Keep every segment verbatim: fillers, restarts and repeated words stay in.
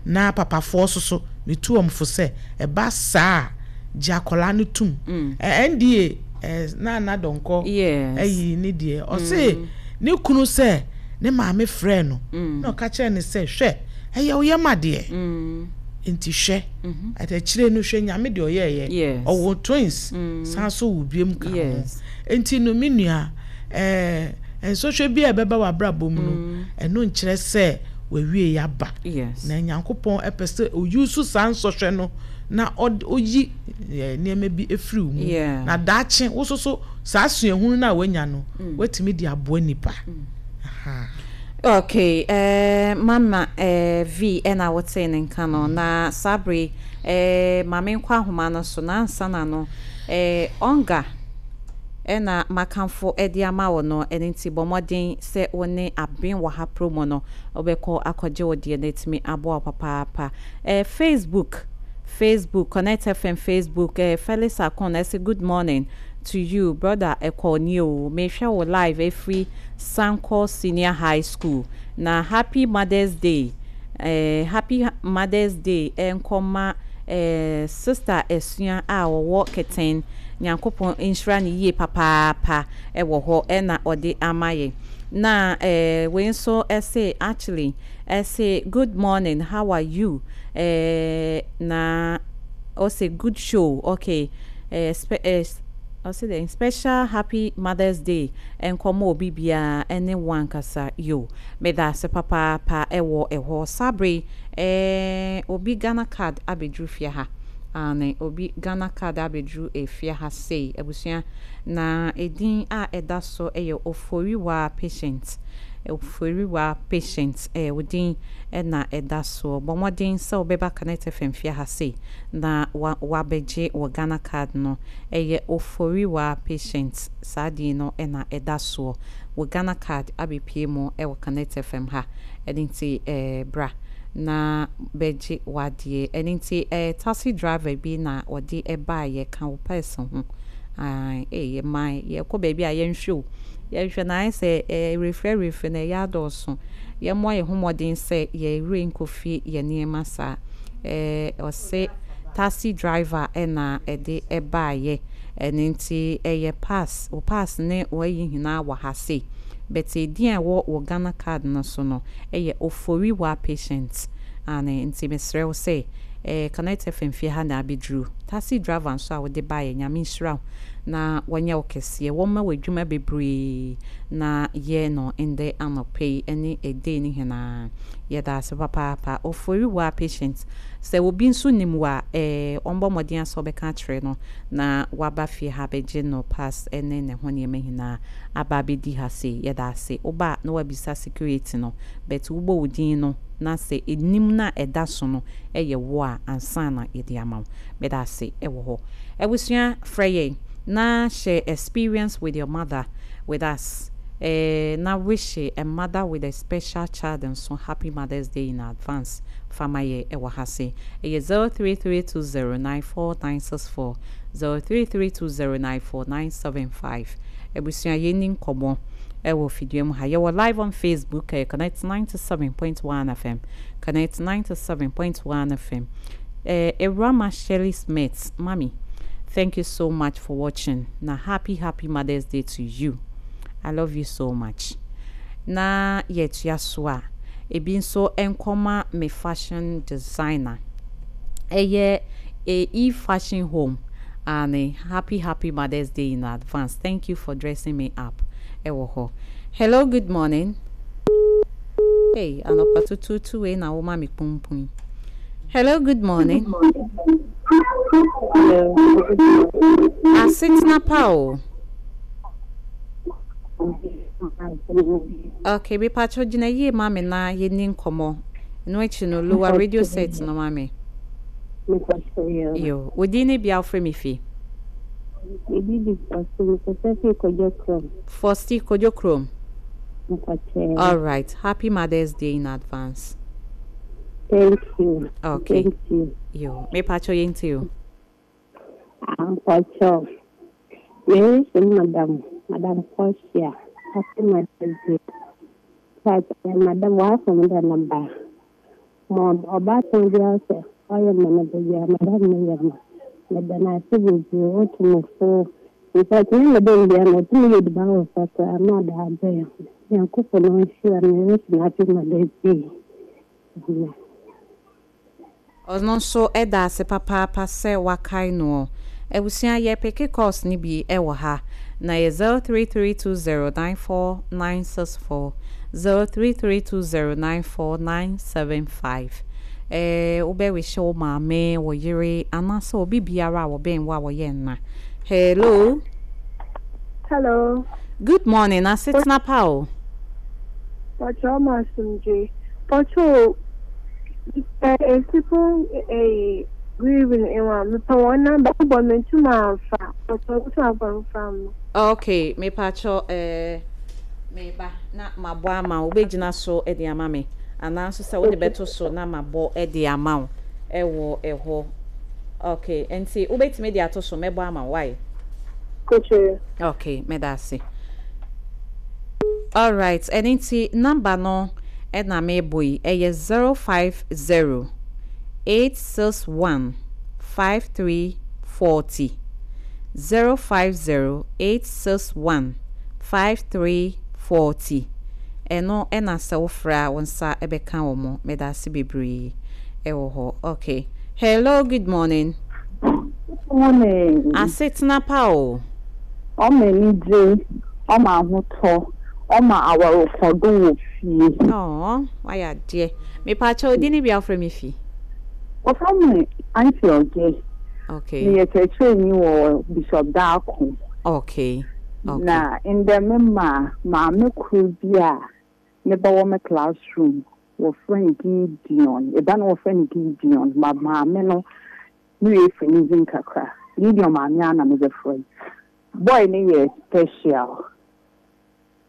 Na papafoɔ so so metu wɔn fo sɛ ɛba saa a, gye akwadaa no tum. Mm. Ɛ N D A ɛ Nana Dɔnkɔ Yes. ɛyi ne deɛ ɔse ne kunu sɛ ne maame frɛ no Mm. na ɔka kyerɛ ne sɛ, hwɛ, ɛyɛ wo yam adeɛ Mm. nti hwɛ Mhm. akyire no, hwɛ Nyame deɛ ɔyɛɛyɛ Yes. ɔwɔ twins Mm. san so wo biem ka ho. Yes. Nti no, me nua, ɛɛ nsɔhwɛ bi a ɛbɛba w'abrabɔ mu no, Mm. ɛno nkyerɛ sɛ wawie yaba. Yes. Na Nyankopɔn ɛpɛ sɛ oyi so saa nsɔhwɛ no na ɔde oyi ɛɛ nneɛma bi efiri wo mu Yeah. na daakye wo soso saa suahunu no a wanya no, Mm. watumi de aboa nipa. Aha. Okay, eh, Mama eh, V ɛna wotee ne nka no na saa bere eh, maame nkɔ ahoma no so na ansa na no eh, ɔnga ɛna makamfo ɛde ama wo no. Ɛno nti bɔ mmɔden sɛ wo ne aben wɔ ha promo no, wobɛkɔ akɔgye wo deɛ no atumi aboa wo papaapa. eh, facebook Facebook, Connect F M Facebook, eh, Felix Akon ɛsɛ, "Good morning to you, brother." Ɛkɔ ni o, mehwɛ wo live ɛfiri Sankɔ Senior High School na happy Mother's Day, eh, happy Mother's Day ɛnkɔma eh, Sister Esua a wɔwɔ Kɛtɛn. Nyankopɔn nhyira ne yie papaapa ɛwɔ hɔ ɛna ɔde ama yɛ. Na eh, wei nso ɛsɛ, actually ɛsɛ, "Good morning, how are you?" eh, na ɔsɛ, "Good show." Okay, eh, spe eh, ɔsɛ dɛ special happy Mother's Day nkɔmɔ obi biara ɛne wɔn ankasa yo. Meda ase papaapa ɛwɔ ɛhɔ. Sabre ɛɛ obi Ghana Card abɛduru fie ha ane, obi Ghana Card abɛduru efie ha sei, abusua, na edin a ɛda so ɛyɛ Oforiwa Patient. Oforiwa Patient, ɛyɛ odin ɛna ɛda soɔ. Bɔ mmɔden sɛ wobɛba Connect F M fie ha sei na wa wabɛgye wɔ Ghana Card no. Ɛyɛ Oforiwa Patient, saa din no ɛna ɛda soɔ wɔ Ghana Card abɛpie mu ɛwɔ Connect F M ha. Ɛde nti ɛɛ bra na bɛgye wadeɛ. Ɛne nti ɛɛ taxi driver bi na ɔde ɛbaayɛ ka wo pɛs ho. Ae, ɛyɛ man yɛkɔ baabi a yɛnhwɛ o, yɛhwɛ na ayɛ sɛ ɛɛ refrɛ refrɛ na ɛyɛ adɔɔso. Yɛmmoa yɛn ho mmɔden sɛ yɛwerɛ nkɔfie yɛ nneɛma saa. ɛɛ ɔse taxi driver ɛna ɛde ɛbaayɛ. Ɛne nti ɛyɛ pass, wo pass ne wɔayi nyinaa wɔ ha sei, but edin a ɛwɔ wɔ Ghana Card no so no ɛyɛ Oforiwa Patient ane. Nti mesrɛ wo sɛ ɛɛ Connect F M fie ha na abɛduru. Taxi driver nso a wode baayɛ, Nyame nhyira wo na wɔnyɛ wo kɛseɛ, wɔmma wo adwuma bebree na yɛ no ndɛ anɔpɛ yi ne ɛdei no nyinaa. Yɛda ase papaapa, Oforiwa Patient. Sɛ obi nso nim wo a, ɛɛ ɔmbɔ mmɔden asɛ ɔbɛka akyerɛ no na waba fie ha bɛgye no pass ne ne ho nneɛma nyinaa aba abɛdi ha sei. Yɛda ase. Woba a na wabisa security no, but wobɔ wo din no na sɛ enim na ɛda so no ɛyɛ wo a, ansa na yɛde ama wo. Mɛda ase ɛwɔ hɔ. Abusua, frɛ yɛn na share experience with your mother with us, eh, na wish a mother with a special child nso happy Mother's Day in advance. Fama yɛ ɛwɔ ha se ɛyɛ zero three three two zero nine four nine six four, zero three three two zero nine four nine seven five. Abusua, yɛni nkɔmmɔ ɛwɔ fidua mu ha. Yɛwɔ live on Facebook, ɛyɛ Connect ninety-seven point one F M, Connect ninety-seven point one F M. eh, Ewurama Shirley Smith, mommy, thank you so much for watching. Na happy, happy Mother's Day to you. I love you so much. Na yɛtua so a, ebi nso nkɔma me fashion designer, ɛyɛ E Fashion Home and happy, happy Mother's Day in advance. Thank you for dressing me up. Ɛwɔ hɔ. Hello, good morning. Hey, anɔpa tutuutu wei na woma me pumpun. Hello, good morning. Hello. Asetena pa o. Okay, mepatwo gyina yie ma me na yɛni nkɔmmɔ. Ɛno akyi no, lower radio set no ma me. Yo, wo din ne bia wofrɛ me fi? Ebi di Fosti, mekasa fi Kodwo Kurom. Fosti, Kodwo Kurom. Mpakyɛ. All right, happy Mother's Day in advance. Thank you. Okay. Thank you. Yo, mepatwo yɛnti o. Mpakyɛ. Mary sɛ Madam, Madam Portia, happy Mother's Day. But, Madam, wafom da namba. Ma ɔbaatan biara sɛ ɔyɛ ma no da biara, madam no yɛ ma. Meda no ase bebree, otu me fo. In fact, me madam biara no, ɔtumi yɛ aduane wɔ fa koraa na ɔde abrɛ yɛn. Nyankopɔn ɔnhyira no, ɛsi no happy Mother's Day. Amen. Ɔno nso ɛda ase papaapa sɛ wakae no. Abusua, yɛpick calls no bi ɛwɔ ha na yɛ zero three three two zero nine four nine six four, zero three three two zero nine four nine seven five. ɛɛ wobɛwihyɛ wo maame, wo yere, anaasɛ obi biara a wɔbɛn wo a wɔyɛ nna. Hello. Hello. Good morning, asetena pa o. Pacho Masumje. Pacho, eh, people eh grieving in one. Me pa one number, but me to my fa. Pacho, what am from? Okay, mepatwɔ, ɛɛ meba na mabɔ ama wo. Wobɛgyina so de ama me anaa nso sɛ wode bɛto so na mabɔ de ama wo ɛwɔ ɛhɔ. Okay, nti wobɛtumi de ato so, mɛbɔ ama wo, why? Coach. Okay, mɛda ase. Alright, ɛno nti number no ɛna mebɔ yi, ɛyɛ zero five zero eight six one five three forty, zero five zero eight six one five three forty. Ɛno ɛna sɛ wofrɛ a, wo nsa ɛbɛka wɔ mo. Mɛda ase bebree ɛwɔ hɔ. Okay, hello, good morning. Morning. Asetena pa o. Ɔma anigye, ɔma ahotɔ, ɔma awarepɔdo wɔ fie. Ɔɔ, wayɛ adeɛ. Mepaakyɛ, odi ne bi afrɛ me fi? Wɔfrɛ me Auntie Ɔge. Okay. Meyɛ kyerɛkyerɛni wɔ Bishop Daako. okay okay Na ndɛ me ma maame koro bi a ne ba wɔ me classroom, wɔfrɛ no Gideon. Eba no, wɔfrɛ no Gideon. Ma maame no, ne yɛ efiri ne dzin kakra. Gideon maame a na mebɛfrɛ no. Boy ne yɛ special.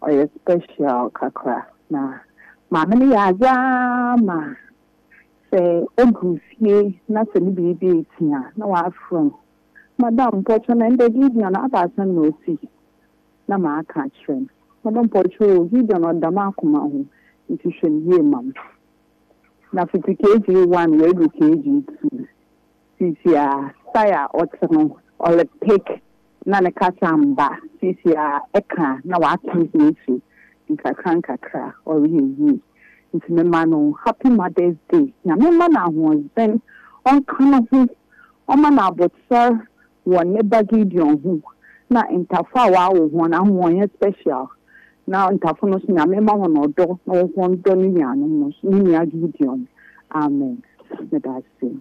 Ɔyɛ special kakra. Na maame no yɛ adze ama sɛ odu fie na sɛ ne biribi eti a, na wafrɛ no. "Madam Mpɔkyɛ, na ndɛ Gideon aba asɛm na osi?" Na maaka akyerɛ no. "Madam Mpɔkyɛ o, Gideon ɔda m'akoma ho, nti hwɛ no yie ma me." Na fiti K G one wɔadu K G two. Sisi a style a ɔte no, ɔrepick na ne kasa mba. Sisi a ɛka na waka ho esu nkakra nkakra, ɔreyɛ yie. Nti mema no happy Mother's Day. Nyame ma no ahoɔden, ɔnka no ho, ɔma no abotare wɔ ne ba Gideon ho. Na ntafo a wɔawo wɔn ahoɔnyɛ special. Na ntafo no nso, Nyame ma wɔn ɔdɔ na wɔn dɔ ne nuanom no, ne nua Gideon. Amen. Meda ase.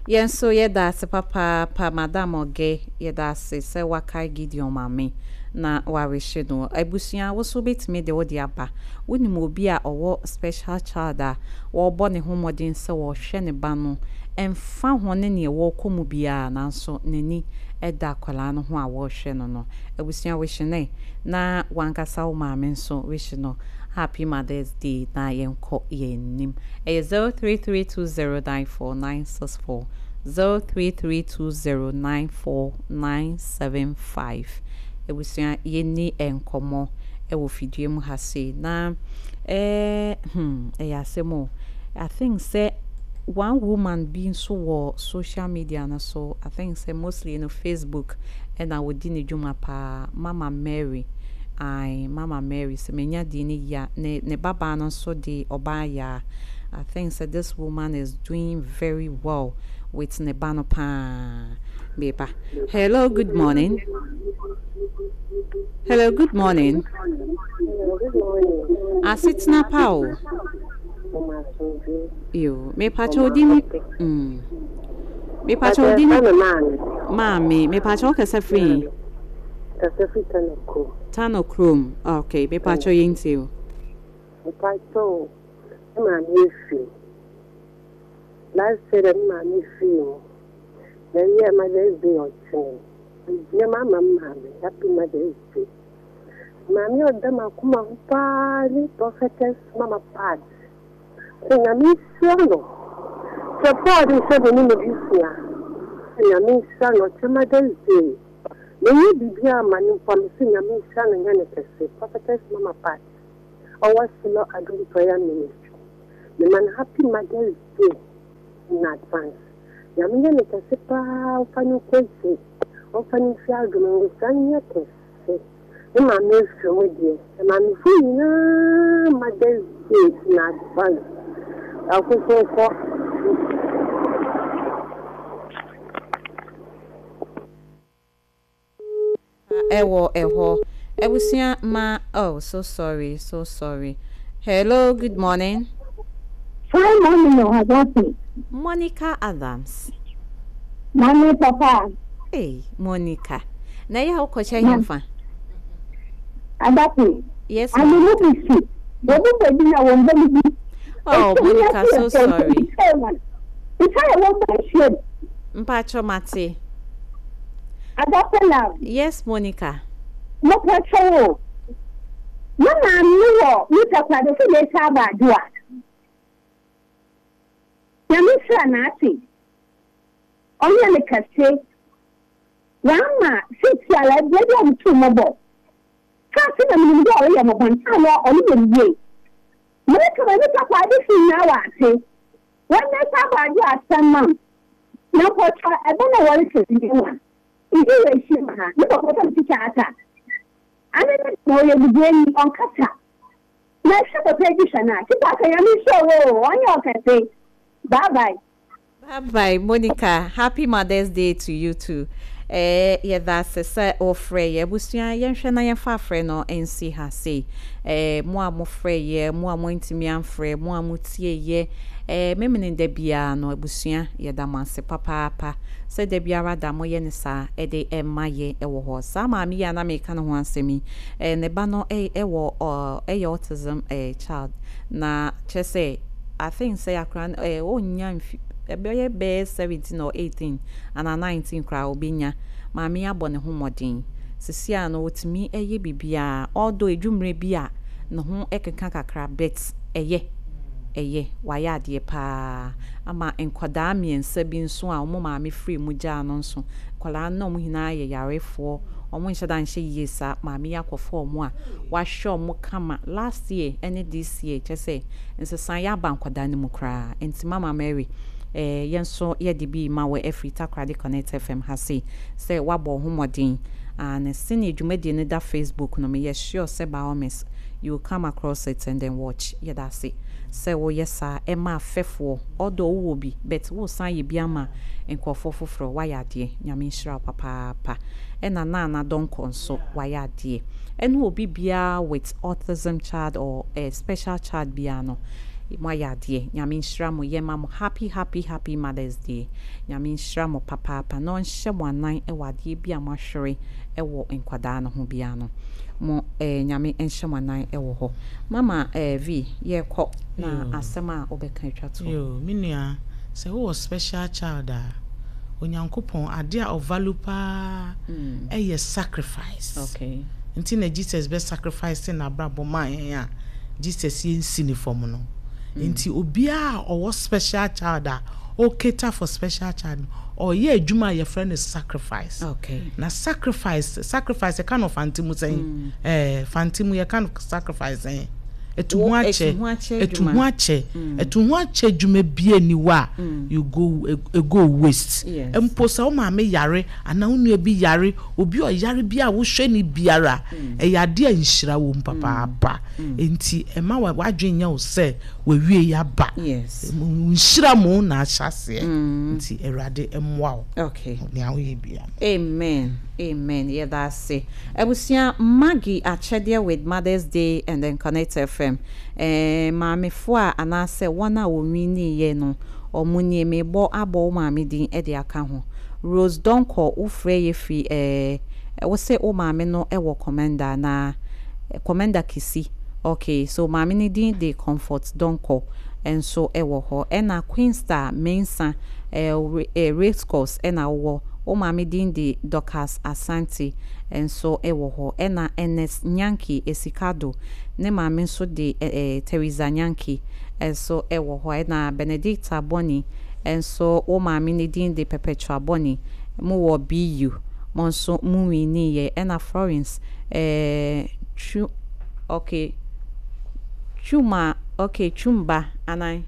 Yɛn nso yɛda ase papaapa, Madam Ɔgɛ. Yɛda ase sɛ wakae Gideon maame na warehye no. Abusua, wo so wobɛtumi de wode aba. Wonim obi a ɔwɔ special child a wɔrebɔ ne ho mmɔden sɛ wɔrehwɛ ne ba no, ɛmfa ho ne neɛ wɔrekɔ mu biara, nanso n'ani ɛda akwadaa no ho a wɔrehwɛ no no. Abusua, wehye ne na wankasa wo maame nso wehye no happy Mother's Day na yɛnkɔ yɛn anim. Ɛyɛ zero three three two zero nine four nine six four, zero three three two zero nine four nine seven five. Abusua, yɛnni nkɔmmɔ ɛwɔ fidie mu ha sei na ɛɛ hmm ɛyɛ asɛm o. I think sɛ one woman bi nso wɔ social media no so, I think sɛ mostly no Facebook ɛna wɔdi ne dwuma paa, Mama Mary. Ai, Mama Mary, sɛ menya di ne yia ne ne babaa no nso de ɔbaa yaa. I think sɛ this woman is doing very well with ne ba no paa. Beba, hello, good morning. Hello, good morning. Good morning. Asetena pa o. Mama Asomdwe. Yo, mepakyɛ, odi ni mm mepakyɛ, odi ni? Maame. Maame, mepakyɛ, wokasa firi? Kasa firi Tano kurom. Tano kurom. Okay, mepakyɛ, yɛntie o. Mepakyɛ, me maame efi. Last year me maame fi mu. Na ɛnyɛ Mother's Day ɔkyene. Nneɛma ama me maame. Happy Mother's Day. Maame a ɔda m'akoma ho paa ne Prophetess Mama Pat. Sɛ Nyame nhyira no. Sɛ Paul de sɛ me ne ne busua. Sɛ Nyame nhyira no ɔkyɛ Mother's Day. Menyɛ biribiara ama no mpo a, mese Nyame nhyira no nyɛ ne kɛse. Prophetess Mama Pat. Ɔwɔ Silo Adom Prayer Ministry. Mema no happy Mother's Day in advance. Nyame nyɛ no kɛse paa, ɔmfa no nkɔ akyiri, ɔmfa no mfi adom nwosra nyɛ kɛse. Me maame afiri mu deɛ, maamefo nyinaa Mother's Day in advance. Akokɔ nkɔ. Ɛwɔ ɛhɔ. Abusua ma, oh, so sorry, so sorry. Hello, good morning. Fine morning, Ohadapi. Monica Adams. Mami papa. Hey, Monica. Na ya wokɔkyɛ hemfa? Adapi. Yes. I'm a movie. Obi baby na wɔn bɛ bi. Oh, Monica, so sorry. Nsa yɛ wɔn bɛ hyɛm. Mpacho mate. Adapi love. Yes, Monica. Mo pɛtɛ o. Mo maame wɔ nipa kwade sɛ yɛ sa aba adoa. Nyame sra n'ase. Ɔnyɛ ne kɛse. Wama sisi ala ebile bi a ɔmo tu mɔbɔ. Kaasi na minim dɛ ɔreyɛ mɔbɔ ntaa na ɔno yɛ yie. Mmerɛ kama nipa kwade fi nyinaa wɔ ase. Wɔn nsa aba ado asɛm mam. Na mpɔtɔ ɛbɛ na wɔrehyɛ ne wa. Ibi wɔ ehyia mu ha. Ne papa sɛ tikya ata. Ane ne na ɔyɛ bubuani ɔnkasa. Na ɛhwɛ papa edi hwɛ na tikya aka nyame nhyɛ wo ɔnyɛ ɔkɛse. Bye bye. Bye bye, Monica. Happy Mother's Day to you too. Eh, yɛda ase sɛ wofrɛ yɛ. Abusua, yɛnhwɛ na yɛmfa afrɛ no nsi ha sei. Eh, mo a mofrɛ yɛ, mo a moantumi amfrɛ, mo a motie yɛ, eh, memene da biara no, abusua, yɛda mo ase papaapa sɛ da biara da moyɛ ne saa ɛde ɛma yɛ ɛwɔ hɔ. Saa maame yi a na meka ne ho asɛm yi, eh, ne ba no ɛwɔ ɛyɛ autism eh, child, na kyerɛ sɛ I think sɛ akora no eh, ɔnnya mfi ɛbɛyɛ bɛyɛ seventeen or eighteen anaa nineteen koraa ɔbɛnya. Maame abɔ ne ho mmɔden sisi a no wɔtumi ɛyɛ biribiara, although edwummerɛ bi a ne ho ɛkeka kakra, but ɛyɛ ɛyɛ wayɛ adeɛ paa ama nkwadaa mmiɛnsa bi nso a wɔn maame firi mu gyaa no nso. Nkwadaa no wɔn nyinaa yɛ yarefoɔ, wɔn nhyɛ da nhyɛ yie saa. Maame yi akɔfo wɔn a wahwɛ wɔn kama last year ɛne this year, kyɛ sɛ nsesan yɛ aba nkwadaa no mu koraa. Nti Mama Mary, eh, yɛn nso yɛde bi ma wɔ afiri Takoradi Connect F M ha sei sɛ wabɔ ho mmɔden. Ah, na sɛnea dwumadie no da Facebook no, meyɛ sure sɛ by all means you will come across it and then watch. Yɛda ase sɛ woyɛ saa ɛma afɛfoɔ, ɔdɔ wowɔ bi, but wosan yɛ bi ama nkurɔfoɔ foforɔ. Wayɛ adeɛ, Nyame nhyira wo papaapa. Ɛna Nana Dɔnkɔ nso wayɛ adeɛ, ɛne obi biara with autism child or a special child biara no, moayɛ adeɛ. Nyame nhyira mo. Yɛma mo happy, happy, happy Mother's Day. Nyame nhyira mo papaapa na ɔnhyɛ mo anan ɛwɔ adeɛ bi a moahwere ɛwɔ nkwadaa no ho biara no mo, eh, Nyame nhyɛ mo anan ɛwɔ hɔ. Mama eh, V, yɛkɔ na Yo. Asɛm a wobɛka atwa to. Yo, me nua, sɛ wowɔ special child a, Onyankopɔn ade a ɔvalue paa ɛyɛ sacrifice. Okay nti na Jesus bɛ sacrifice n'abrabɔ maa yɛn a Jesus yɛnsi ne fam no. Nti obiara a ɔwɔ special child a ɔcater for special child no, ɔyɛ adwuma a yɛfrɛ no sacrifice. Okay na sacrifice sacrifice yɛka no Fante mu sɛn? ɛɛ Fante mu yɛka no sacrifice sɛn? Etu ho Wo- akyɛ. Etu ho akyɛ Etu adwuma. Ho akyɛ, etu ho akyɛ adwuma bie ni hɔ a you go e go waste. Yes. Mpo sɛ wo maame yare anaa wo nua bi yare, obi a ɔyare bi a wohwɛ ne biara, ɛyɛ adeɛ a nhyira wɔ mu papaapa. Nti ɛma wa wadwen nyɛ wo sɛ wawie yaba. Yes nhyira mu na ahyɛ aseɛ. Nti Awurade mmoa wo okay nea woyɛ bia. Amen, amen. Yɛda ase. Abusua, Maggie akyɛdeɛ with Mother's Day and then Connect F M. Eh, maamefoɔ a anaasɛ wɔn a wɔnwiniiɛ no, ɔmo nie. Mebɔ abɔ wo maame din de aka ho. Rose Donkɔ, wofrɛ yɛ firi eh, wo sɛ wo maame no wɔ Commander na eh, Commander Kisi. Okay, so maame no din de Comfort Donkɔ nso wɔ hɔ. Ɛna Queen Star Mensa, eh, eh, race course ɛna wowɔ. Wo maame din de Dorcas Asante nso wɔ hɔ. Ɛna Ernest Nyanki Esikado, ne maame nso de eh, Teresa Nyanki nso wɔ hɔ. Ɛna Benedicta Boni nso, wo maame ne din de Perpetua Boni. Mo wɔ B U, mo nso mo winiiɛ. Ɛna Florence eh, Twu, okay, Twuma. Okay, Chumba anan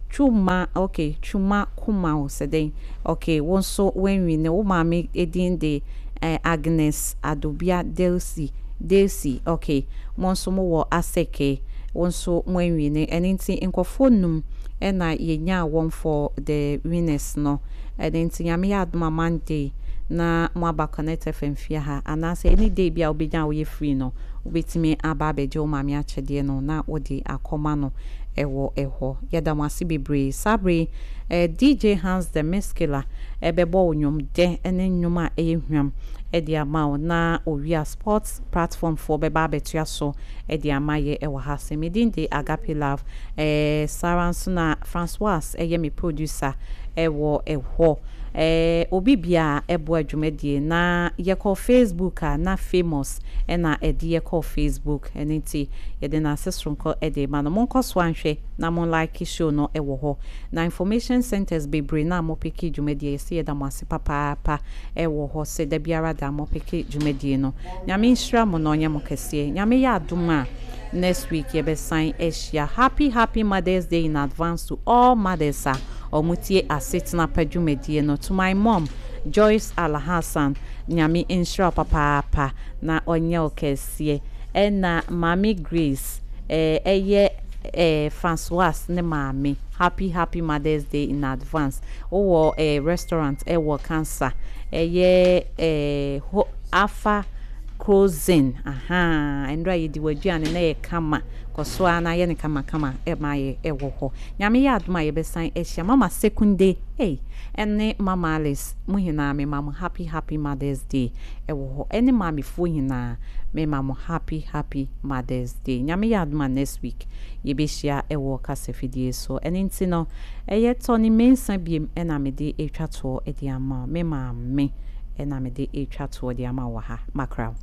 Chuma. Okay, Chuma Kuma wo sɛ dɛn? Okay, wo nso woanwin. Wo maame edin de eh, Agnes Adobia Delsi Delsi. Okay, mo nso mowɔ Aseke, wo nso mo anwin. Ɛno nti nkɔfoɔ num ɛna yɛnyaa wɔn for the winners no. Ɛno nti Nyame yɛ adom a, Monday na mo aba Connect F M fie ha, anaasɛ any day bi a wobɛnya a woyɛ free no, wobɛtumi aba abɛgye wo maame akyɛdeɛ no na wode akɔma no ɛwɔ ɛhɔ. Yɛda mo ase bebree. Saa bere eh, D J Hans the Miskiller ɛbɛbɔ wo nnwom dɛ ne nnwom a ɛyɛ hwam ɛde ama wo, na Owia Sports Platform foɔ bɛba abɛtoa so ɛde ama yɛ ɛwɔ ha. Sɛ medin de Agape Love, eh, Sara nso na Francois ɛyɛ me producer ɛwɔ ɛhɔ. eh, obi bia ɛboa dwumadie na yɛkɔ Facebook a, na Famous ɛna ɛde yɛkɔ Facebook. Ɛno nti yɛde n'ase soronko ɛde ma no. Monkɔ so anhwɛ na mo like show no ɛwɔ hɔ, na information centers bebree na mo pick dwumadie, yɛsɛ yɛda mo ase papaapa ɛwɔ hɔ sɛ da biara da mo pick dwumadie no. Nyame nhyira mo na ɔnyɛ mo kɛseɛ. Nyame yɛ adom a, next week yɛbɛsan ahyia. Happy, happy Mother's Day in advance to all mothers a ɔmo tie Asetena Pa dwumadie no. To my mom, Joyce Alhassan, Nyame nhyira wo papaapa na ɔnyɛ wo kɛseɛ. Ɛna Maame Grace, ɛɛ ɛyɛ ɛɛ Francois ne maame, happy, happy Mother's Day in advance. Wowɔ ɛɛ restaurant ɛwɔ Cancer, ɛyɛ ɛɛ ho Afa Closing aha, ndra yɛdi w'aduane na yɛ kama. Kɔ so a na yɛ ne kamakama ɛma yɛ ɛwɔ hɔ. Nyame yɛ adom a, yɛbɛsan ahyia. Mama Sekunde ei, ɛne Mama Alice, mo nyinaa mema mo happy, happy Mother's Day ɛwɔ hɔ. Ɛne maamefoɔ nyinaa, mema mo happy, happy Mother's Day. Nyame yɛ adom a, next week yɛbɛhyia ɛwɔ kasafidie so. Ɛne nti no ɛyɛ Tɔne Mensa biem ɛna mede ɛtwa toɔ ɛde ama wo. Me maame ɛna mede ɛtwa toɔ de ama wɔ ha. Makraw.